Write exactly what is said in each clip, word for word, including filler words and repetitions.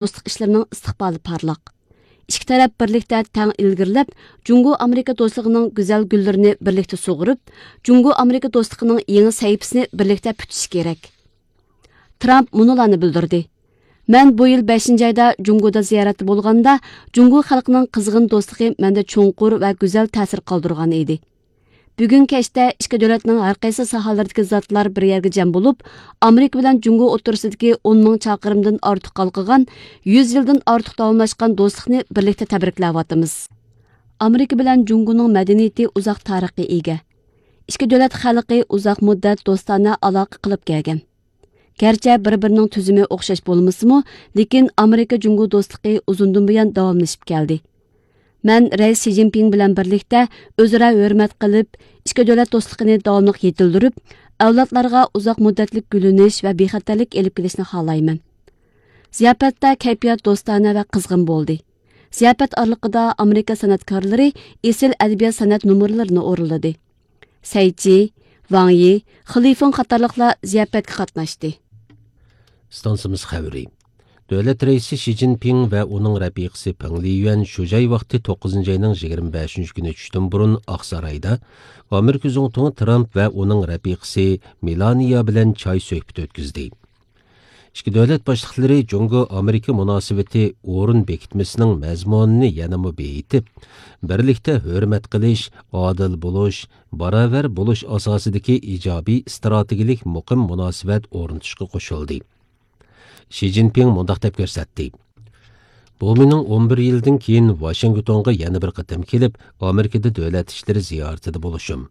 دوستلۇق ئىشلىرىنىڭ ئىستىقبالى پارلاق. ئىككى تەرەپ بىرلىكتە تەڭ ئىلگىرىلەپ، جۇڭگو ئامېرىكا دوستلۇقىنىڭ گۈزەل گۈللىرىنى بىرلىكتە سۇغۇرۇپ، جۇڭگو ئامېرىكا دوستلۇقىنىڭ يېڭى سەھىپىسىنى بىرلىكتە پۈتۈشى كېرەك. ترامپ مۇنۇلارنى بىلدۈردى: مەن بۇ يىل بەشىنچى ئايدا جۇڭگودا زىيارەتتە بولغاندا، جۇڭگو خەلقىنىڭ قىزغىن دوستلۇقى مەندە چوڭقۇر ۋە گۈزەل تەسىر قالدۇرغان ئىدى. بۈگۈن كەچتە ئىككى دۆلەتنىڭ ھەر قايسى ساھەلىرىدىكى زاتلار بىر يەرگە جەم بولۇپ، ئامېرىكا بىلەن جۇڭگو ئوتتۇرىسىدىكى ئون مىڭ چاقىرىمدىن ئارتۇق ھالقىغان، يۈز يىلدىن ئارتۇق داۋاملاشقان دوستلۇقنى بىرلىكتە تەبرىكلەۋاتىمىز. ئامېرىكا بىلەن جۇڭگونىڭ مەدەنىيىتى ئۇزاق تارىخقا ئىگە. ئىككى دۆلەت خەلقى ئۇزاق مۇددەت دوستانە ئالاقە قىلىپ كەلگەن. گەرچە بىر-بىرىنىڭ تۈزۈمى ئوخشاش بولمىسىمۇ، لېكىن ئامېرىكا جۇڭگو دوستلۇقى ئۇزۇندىن بۇيان داۋاملىشىپ كەلدى. مەن رەئىس شى جىنپىڭ بىلەن بىرلىكتە ئۆزئارا ھۆرمەت قىلىپ، ئىككى دۆلەت دوستلۇقىنى داۋاملىق يېتىلدۈرۈپ، ئەۋلادلارغا ئۇزاق مۇددەتلىك گۈللىنىش ۋە بىخەتەرلىك ئېلىپ كېلىشنى خالايمەن. زىياپەتتە كەيپىيات دوستانە ۋە قىزغىن بولدى. زىياپەت ئارىلىقىدا ئامېرىكا سەنئەتكارلىرى ئېسىل ئەدەبىيات-سەنئەت نومۇرلىرىنى ئورۇنلىدى. سەي چى، ۋاڭ يى، خېلىفېڭ قاتارلىقلار زىياپەتكە قاتناشتى. ئىستانسىمىز خەۋىرى. دۆلەت رەئىسى شى جىنپىڭ ۋە ئۇنىڭ رەپىقىسى پېڭ لىيۈەن شۇ جاي ۋاقتى توققۇزىنچى ئاينىڭ يىگىرمە بەشىنچى كۈنى چۈشتىن بۇرۇن ئاقسارايدا ئامېرىكا زۇڭتۇڭى ترامپ ۋە ئۇنىڭ رەپىقىسى مېلانىيا بىلەن چاي سۆھبىتى ئۆتكۈزدى. ئىككى دۆلەت باشلىقلىرى جۇڭگو ئامېرىكا مۇناسىۋىتى ئورۇن بېكىتمىسىنىڭ مەزمۇنىنى يەنىمۇ بېيىتىپ، بىرلىكتە ھۆرمەت قىلىش، ئادىل بولۇش، باراۋەر بولۇش ئاساسىدىكى ئىجابىي ئىستراتېگىيەلىك مۇقىم مۇناسىۋەت ئورنىتىشقا قوشۇلدى. شى جىنپىڭ مۇنداق دەپ كۆرسەتتى: بۇ مېنىڭ ئون بىر يىلدىن كېيىن ۋاشىنگتونغا يەنە بىر قېتىم كېلىپ، ئامېرىكىدا دۆلەت ئىشلىرى زىيارىتىدە بولۇشۇم.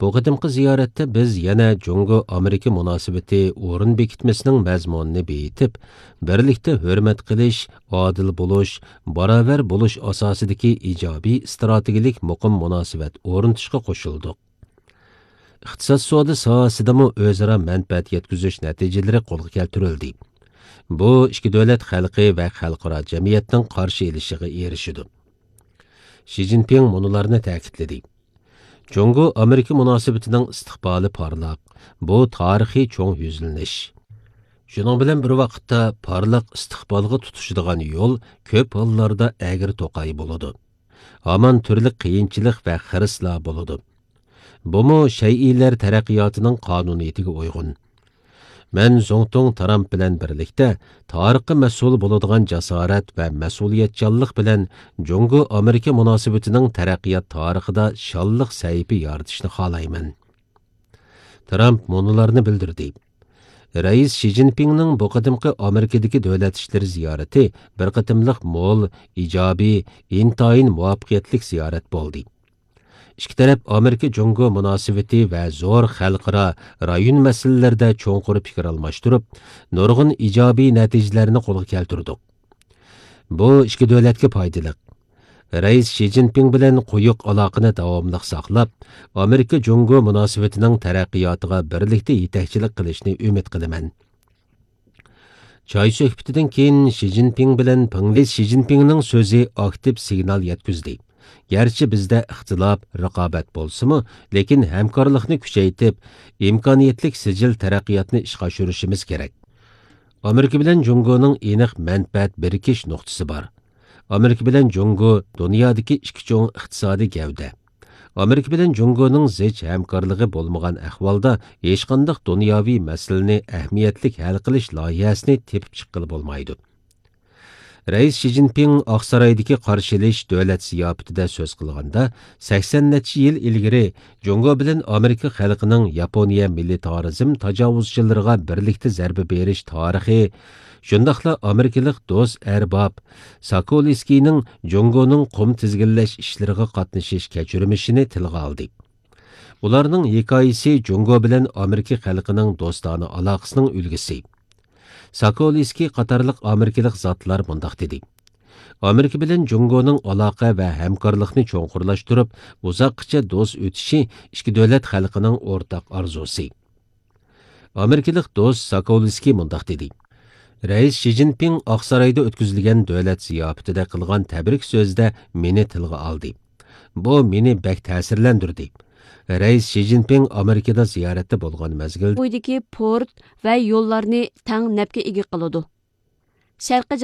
بۇ قېتىمقى زىيارەتتە بىز يەنە جۇڭگو ئامېرىكا مۇناسىۋىتى ئورۇن بېكىتمىسىنىڭ مەزمۇنىنى بېيىتىپ، بىرلىكتە ھۆرمەت قىلىش، ئادىل بولۇش، باراۋەر بولۇش ئاساسىدىكى ئىجابىي ئىستراتېگىيەلىك مۇقىم مۇناسىۋەت ئورنىتىشقا قوشۇلدۇق. ئىقتىساد سودا ساھەسىدىمۇ ئۆزئارا مەنپەئەت يەتكۈزۈش نەتىجىلىرى قولغا كەلتۈرۈلدى. بۇ ئىككى دۆلەت خەلقى ۋە خەلقئارا جەمئىيەتنىڭ قارشى ئېلىشىغا ئېرىشىدۇ. شى جىنپىڭ مۇنۇلارنى تەكىتلىدى: جۇڭگو ئامېرىكا مۇناسىۋىتىنىڭ ئىستىقبالى پارلاق. بۇ تارىخىي چوڭ يۈزلىنىش. شۇنىڭ بىلەن بىر ۋاقىتتا، پارلاق ئىستىقبالغا تۇتىشىدىغان يول كۆپ ھاللاردا ئەگرى توقاي بولىدۇ. ھامان تۈرلۈك قىيىنچىلىق ۋە خىرىسلار بولىدۇ. بۇمۇ شەيئىلەر تەرەققىياتىنىڭ قانۇنىيىتىگە ئۇيغۇن. مەن زۇڭتۇڭ ترامپ بىلەن بىرلىكتە تارىخقا مەسئۇل بولىدىغان جاسارەت ۋە مەسئۇلىيەتچانلىق بىلەن جۇڭگو ئامېرىكا مۇناسىۋىتىنىڭ تەرەققىيات تارىخىدا شانلىق سەھىپە يارىتىشنى خالايمەن. ترامپ مۇنۇلارنى بىلدۈردى: رەئىس شى جىنپىڭنىڭ بۇ قېتىمقى ئامېرىكىدىكى دۆلەت ئىشلىرى زىيارىتى بىر قېتىملىق مول، ئىجابىي، ئىنتايىن مۇۋەپپەقىيەتلىك زىيارەت بولدى. ئىككى تەرەپ ئامېرىكا جۇڭگو مۇناسىۋىتى ۋە زور خەلقئارا، رايون مەسىلىلىرىدە چوڭقۇر پىكىر ئالماشتۇرۇپ، نۇرغۇن ئىجابىي نەتىجىلەرنى قولغا كەلتۈردۇق. بۇ ئىككى دۆلەتكە پايدىلىق. رەئىس شى جىنپىڭ بىلەن قويۇق ئالاقىنى داۋاملىق ساقلاپ، ئامېرىكا جۇڭگو مۇناسىۋىتىنىڭ تەرەققىياتىغا بىرلىكتە يېتەكچىلىك قىلىشنى ئۈمىد قىلىمەن. چاي سۆھبىتىدىن كېيىن شى جىنپىڭ بىلەن پېڭ لىس شى جىنپىڭنىڭ سۆزى ئاكتىپ سىگنال يەتكۈزدى. گەرچە بىزدە ئىختىلاپ، رىقابەت بولسىمۇ، لېكىن ھەمكارلىقنى كۈچەيتىپ، ئىمكانىيەتلىك سىجىل تەرەققىياتنى ئىشقا ئاشۇرۇشىمىز كېرەك. ئامېرىكا بىلەن جۇڭگونىڭ ئېنىق مەنپەئەت بىرىكىش نۇقتىسى بار. ئامېرىكا بىلەن جۇڭگو دۇنيادىكى ئىككى چوڭ ئىقتىسادىي گەۋدە. ئامېرىكا بىلەن جۇڭگونىڭ زىچ ھەمكارلىقى بولمىغان ئەھۋالدا، ھېچقانداق دۇنياۋى مەسىلىنى ئەھمىيەتلىك ھەل قىلىش لايىھەسىنى تېپىپ چىققىلى بولمايدۇ. رەئىس شى جىنپىڭ ئاقسارايدىكى قارشى ئېلىش دۆلەت زىياپىتىدە سۆز قىلغاندا، سەكسەن نەچچە يىل ئىلگىرى جۇڭگو بىلەن ئامېرىكا خەلقىنىڭ ياپونىيە مىلىتارىزم تاجاۋۇزچىلىرىغا بىرلىكتە زەربە بېرىش تارىخى، شۇنداقلا ئامېرىكىلىق دوست ئەرباب ساكولسكىينىڭ جۇڭگونىڭ قۇم تىزگىنلەش ئىشلىرىغا قاتنىشىش كەچۈرمىشىنى تىلغا ئالدى. ئۇلارنىڭ ھېكايىسى جۇڭگو بىلەن ئامېرىكا خەلقىنىڭ دوستانە ئالاقىسىنىڭ ئۈلگىسى. ساكولسكىي قاتارلىق ئامېرىكىلىق زاتلار مۇنداق دېدى: ئامېرىكا بىلەن جۇڭگونىڭ ئالاقە ۋە ھەمكارلىقنى چوڭقۇرلاشتۇرۇپ، ئۇزاققىچە دوست ئۆتۈشى ئىككى دۆلەت خەلقىنىڭ ئورتاق ئارزۇسى. ئامېرىكىلىق دوست ساكولسكىي مۇنداق دېدى: رەئىس شى جىنپىڭ ئاقسارايدا ئۆتكۈزۈلگەن دۆلەت زىياپىتىدە قىلغان تەبرىك سۆزىدە مېنى تىلغا ئالدى. بۇ مېنى بەك تەسىرلەندۈردى. رەئىس شى جىنپىڭ ئامېرىكىدا زىيارەتتە بولغان مەزگىلدە بويىدىكى پورت ۋە يوللارنى تەڭ نەپكە ئىگە قىلىدۇ. شەرقىي